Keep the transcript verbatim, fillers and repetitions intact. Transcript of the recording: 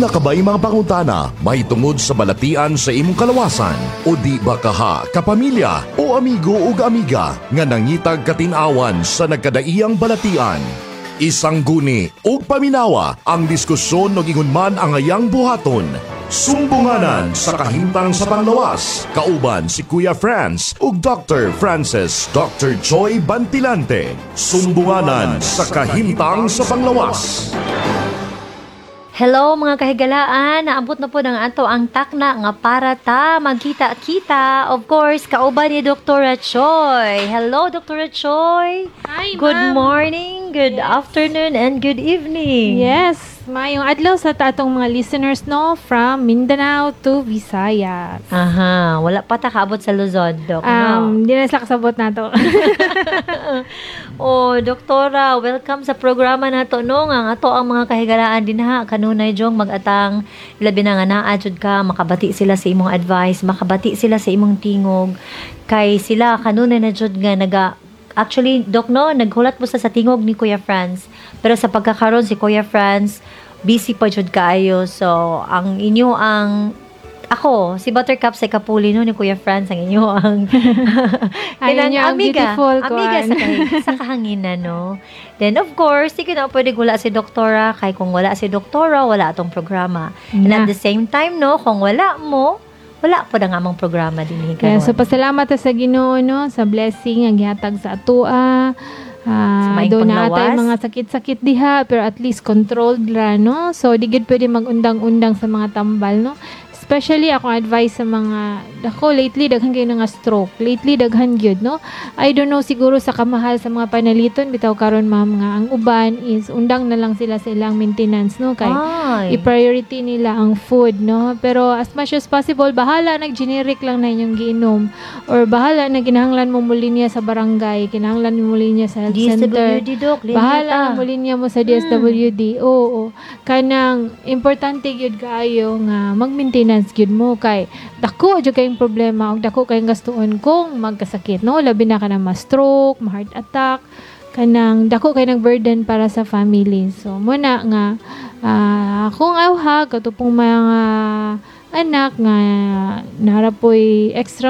Duna ka ba'y mga pangutana mahitungod sa balatian sa imong kalawasan o di ba kaha kapamilya o amigo ug amiga nga nangitag katin-awan sa nagkadaiyang balatian? Isang guni ug paminawa ang diskusyon og ingon man ang ayang buhaton. Sumbunganan sa kahimtang sa panglawas. Kauban si Kuya Franz ug Doctor Francis Doctor Joy Bantilante. Sumbunganan sa kahimtang sa panglawas. Hello, mga kahigalaan, naabot na po ng ato ang takna nga para ta magkita-kita. Of course, kauban ni Doctor Choi. Hello, Doctor Choi. Hi, Good ma'am. Morning, good afternoon, and good evening. Yes, maayong adlaw sa atong mga listeners, no, from Mindanao to Visayas. Aha, wala pa ta kaabot sa Luzon, Doc, no? Um, di na sila kasabot nato. Oh, Doktora, welcome sa programa nato, no, nga ang ato ang mga kahigalaan dinha kanunay jong mag-atang, labi na nga naa jud ka, makabati sila sa imong advice, makabati sila sa imong tingog kay sila kanunay na jud nga naga. Actually, Doc, no, naghulat mo sa sa tingog ni Kuya Franz. Pero sa pagkakaroon si Kuya Franz busy pa jud kaayo. So, ang inyo ang ako, si Buttercup sa Kapuli, no, ni Kuya Franz ang inyo ang Ay, kanang inyo ang amiga, beautiful amiga kuan. sa, kahi- sa kahanginan, no? Then, of course, di ko na pwede wala si Doktora, kay kung wala si Doktora, wala atong programa. And at Na. the same time, no, kung wala mo, wala po na nga among programa din Kaya, karon. so pasalamat ta sa Ginoo, no, sa blessing ang gihatag sa atoa. Sa Ah, maayong do na atay panglawas. mga sakit-sakit diha pero at least controlled ra, no. So di gid pwede magundang-undang sa mga tambal, no. Especially akong advice sa mga dako lately, daghan kayo nga stroke. Lately daghan gyud, no. I don't know, siguro sa kamahal sa mga panaliton bitaw karon, ma'am, nga ang uban is undang na lang sila sa ilang maintenance, no, kay Ay. I-priority nila ang food, no? Pero as much as possible, bahala nag generic lang na inyong giinom or bahala na kinahanglan mo mulinya sa barangay, kinahanglan mo mulinya sa health center. D S W D, Doc. Linya Bahala ta. na mulinya mo sa D S W D. Oo. Kanang importante gyud kaayo nga mag-maintenance gyud mo kay dako jud kayong problema ug dako kayong gastuon kung magkasakit, no? Labi na kanang ma-stroke, ma-heart attack, kanang dako kay ng burden para sa family. So muna nga ah, kung awha kato pong mga anak nga narapoy extra